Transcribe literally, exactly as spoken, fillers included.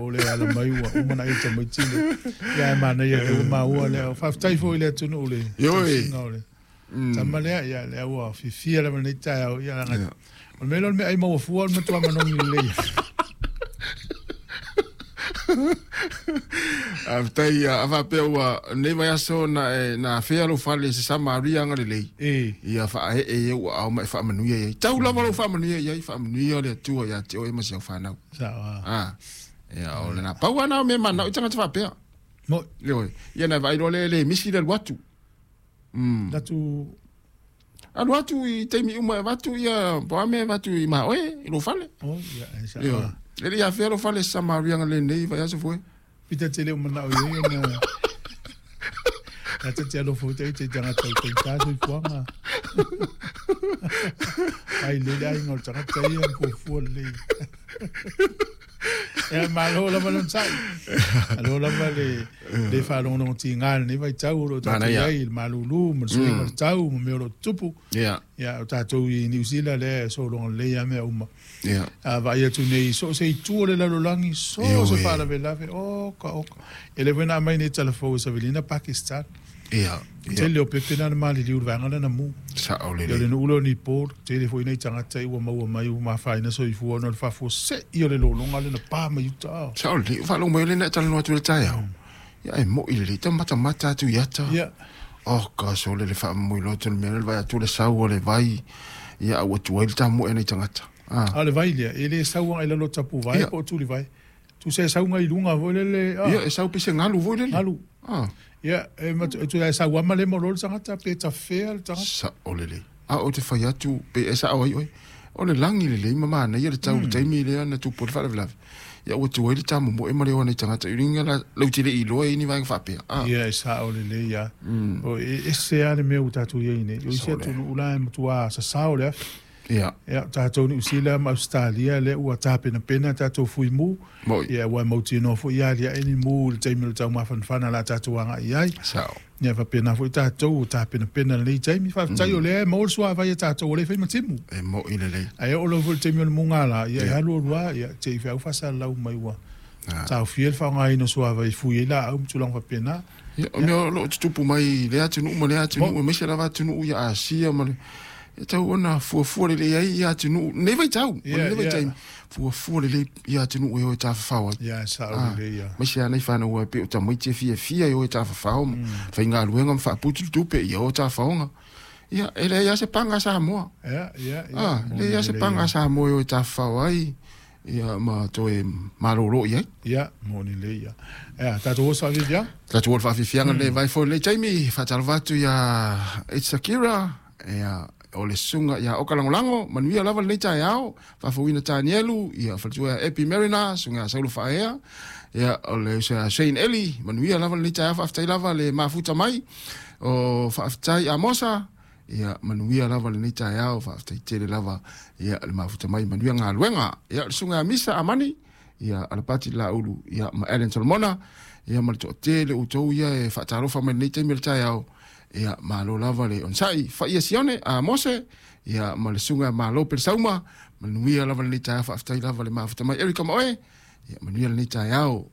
o le ala mai ua uma na ita mai tile. Ia e mana ia le uma ua lea. Faafetai foi le atunuu le. Ioe. Tama lea, ia lea ua fifia lava nei taeao, ia langa. O le mea lea o le mea ai maua fua o le matua manogi lelei. Faafetai a faapea ua nei vaiaso na na afea lou fale i se Samaria agalelei. Ia faaee e ua ao ma e faamanuia i ai. Tau lava lou faamanuia i ai, faamanuia le Atua ia te oe ma si au fanau. Ah. Ia o lena pau ana o mea manao i tagata faapea. Moi. Ioe. Ia na vaai loa le le misi le alu atu. Mm. Atu alu atu i taimi uma e avatu ia po a mea e avatu i maoe i lou fale. Oh, ia e sa. Ioe. E le i afea lou fale Samaria agalelei vaiaso foi. Pita te leo manao i ai ona Ta te alofa te te tagata i te taso i fuanga. Ai le le aiga o le tagata ia na fuafua lelei. Ia malo lava le onosai. Malo lava le le faalogologo tiga i lenei vaitau o lo o tatou i ai i le malūlū ma le suiga o le tau ma mea o lo o tutupu. Ia. Ia o tatou i Niu Sila lea e sologa lelei lava mea uma. Ia. A vaai atu nei so o se itu o le lalolagi, so o se faalavelave, oka oka. E le foi na aumai nei tala fou e Savelina Pakistan. Ia. Tele o pepe na na maliliu i le vaega lea na mu. Sao Ia o lelei. le nuu lea o Nepal, tele foi nai tagata i ua maua mai ua mafaina soifua ona o le faafuasei o le lologa lea na pa mai uta. Ao. Sao lelei, o faalogo mai o lea na e talanoa atu i le taeao. Ia e moi lelei, tamatamata atu i ata. Ia. Oh, gosh, o le le faamomoe loto le mea lea le vaai atu le sau o le vai, ia a ua tuai le tamoe nei tagata. Ah. A o le vai lea, e le sau agai i lalo o tapuvae Ia. po o tulivae. Tusa e sau ngai luga foi lele, ah. Ia, e sau pe se galu foi lele. Galu. Ah. Ia, e matu, e tu e sau ama le mo le tagata pe tafea le tagata. Sao lelei. A o te fai atu pe e sao ai oe. O le lagi lelei ma manaia le tau le taimi lea na tupu ai le faalavelave. Ia ua tuai le tamomoe ma le o nei tagata. I luga la lau te le i loa i ni vaega faapea. Ah. Ia, e sao lelei lava. O e ese lava le mea ua tatou i ai nei. O isi Sao lea. atunuu la e matua sasao le afi. Ia. Ia, o tatou Niu Sila ma Ausetalia lea ua tapenapena tatou fuimu. Moi. Ia, ua e mautinoa foi ia aliae ni mu i le taimi o le taumafanafana o le a tatou agai i ai. Sao. Ia, faapena foi tatou ua tapenapena i lenei taimi. Faafetai o lea e maua le suavai a tatou o lea e fai ma timu. E moi lelei. Ae oo lava foi i le taimi o le mugala, ia e alu alu lava, ia te i feau faasalalau mai ua taofia le faaaogaina o suavai e fui ai laau ma tulaga faapena. Ia, o mea o lo o tutupu mai i lea atunuu ma lea atunuu, aemaise lava atunuu ia Asia ma le e tau ona fuafua lelei ai ia atunuu, lenei vaitau, o Ia, lenei ia. vaitaimi, fuafua lelei ia atunuu e o e tafafao ai. Ia, e sao Ah, lelei ia. aemaise lava nai fanau e pei o tamaiti e fiafia e o e tafafao ma faigaluega ma faaputu le tupe ia o tafaoga. Ia, e leai lava se paga a Samoa. Ia, ia, ia. Ah, Moni leai lava se lelei paga ia. a Samoa e o e tafafao ai, ia ma toe malōlō i ai. Ia, moni lelei ia. Ia, tatou oso faafiafiaga? Tatou oso faafiafiaga lenei vai foi lenei taimi, faatalofa atu ia It's Akira, ia o le susuga ia Oka Lagolago, manuia lava lenei taeao, faafouina Tanielu, ia faletua ia Epi Mariner, susuga ia Saulo Faaea, ia o le uso ia Shane Eli, manuia lava lenei taeao, faafetai lava le mafuta mai, o faafetai Amosa, ia manuia lava lenei taeao, faafetai tele lava, ia le mafuta mai, manuia galuega, ia le susuga ia Misa Amani, ia Alapati Laulu, ia ma Ellen Solomona, ia ma le toatele outou ia e faatalofa mai lenei taimi o le taeao, ia malo lava le onosai, faia Sione a Mose, ia ma le susuga malo Pelesauma, manuia lava lenei taeao, faafetai lava le mafuta mai Erika Maoe, ia manuia lenei taeao.